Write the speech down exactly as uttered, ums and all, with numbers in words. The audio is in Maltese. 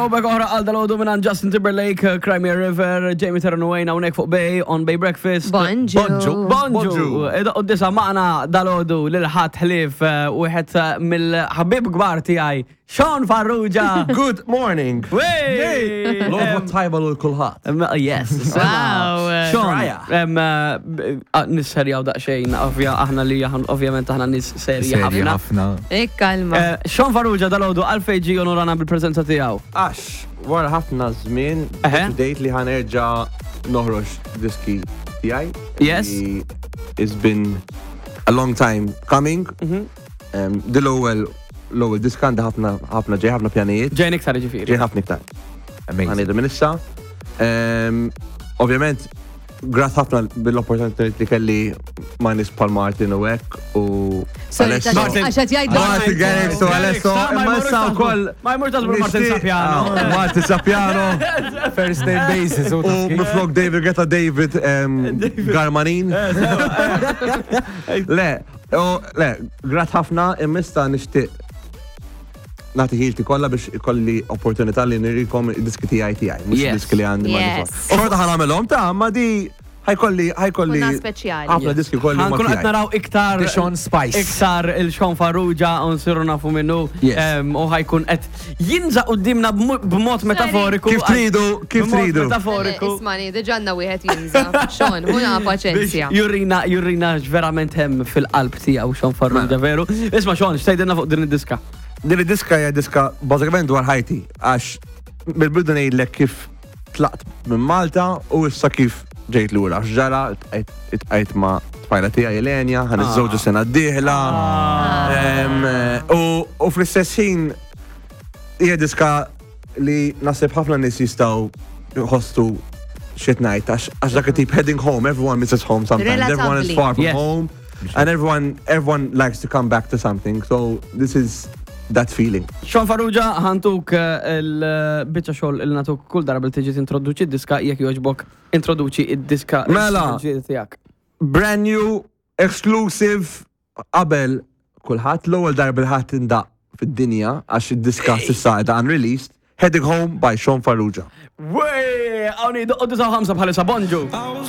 Throwback oħra għal dalgħodu minn Justin Timberlake, Cry Me a River, Jamie Terranwayne hawnhekk fuq Bay, on Bay Breakfast. Bonġu. Bonġu. Bonġu. Id disa magħna dalgħodu lil ħadd ħlief wieħed mill-ħabib kbar tiegħi, Sean Farrugia. Good morning. Wey! L-għodwa tajba lil kulħadd. Yes. Wow. Sean, Raja. em, eh, nisserjaw daqsxejn, ovvja aħna li aħna- ovvjament aħna nis serji Serji ħafna. ħafna. Ikkalma. Eh, Sean Farrugia dalgħodu għalfejn ġie onorana bil-preżenza tiegħu. Għax, wara ħafna żmien, Eħe. deċidejt li ħa nerġa' noħroġ diski tiegħi. Yes. Li It's been a long time coming. Mhm. Um, Dil-ewwel l-ewwel diska għandi ħafna ħafna ġej ħafna pjanijiet. Ġejn iktar ġifieri. Ġej ħafna iktar. Amazing. Ħa ngħidu minn issa. Um, Ovvjament, grat ħafna bil-opportunità li kelli ma' nies bħal Martin u hekk u Sorry, Alesso. Martin. għax qed jgħidlu. Martin Garrix u Alesso, Ma imma jmurux issa taħsbu- wkoll. Ma jmurx taħsbu Martin nixtieq- Sapiano. Ah, Martin Sapiano. First name basis. U miflok David Guetta David em, Garmanin. Le, u le, grat ħafna imma issa nixtieq nagħti ħilti kollha biex ikolli opportunità li nurikom id-diski tiegħi tiegħi, mhux Yes. diski li għandi ma' Yes. nies. Xorta ħa nagħmelhom ta' ma di ħa jkolli ħa jkolli Kuna speċjali. ħafna diski kolli ma Ħa nkunu qed tiegħi. naraw iktar The Sean Spice. iktar il-Sean Farrugia u nsiru nafu minnu Yes. em, u ħa jkun qed jinża' quddiemna b'mo- b'mod metaforiku. Kif tridu, kif B'mod tridu. Metaforiku. Ismani, diġà għandna wieħed jinża'. Sean, ħuna paċenzja. Biex jurina, jurina verament hemm fil-qalb tiegħu Sean Farrugia, veru. Isma' Sean, x'tgħidilna fuq din id-diska? Din id-diska hija diska bażikament dwar ħajti għax bil-bidu ngħidlek kif tlaqt minn Malta u issa kif ġejt lura. X'ġara iltqajt ma' tfajla tiegħi Elenja, ħa niżżewġu sena d-dieħla. Em, U u fl-istess ħin hija diska li naħseb ħafna nies jistgħu jħossu shit night għax għax dak it-tip heading home, everyone misses home sometimes, everyone is Relatably. far from Yes. home and everyone everyone likes to come back to something. So this is that feeling. Sean Farrugia, ħa ntuk eh, il-biċċa xogħol il nagħtuk kull darba li tiġi tintroduċi d-diska jekk jogħġbok introduċi id-diska Mela. il-ġdida tiegħek. Brand new, exclusive, qabel kulħadd l-ewwel darba li ħadd tindaq fid-dinja għax id-diska s'issa qiegħda unreleased, Heading Home by Sean Farrugia. Wey, hawn doqqu disa ħamsa bħalissa bonġu. I was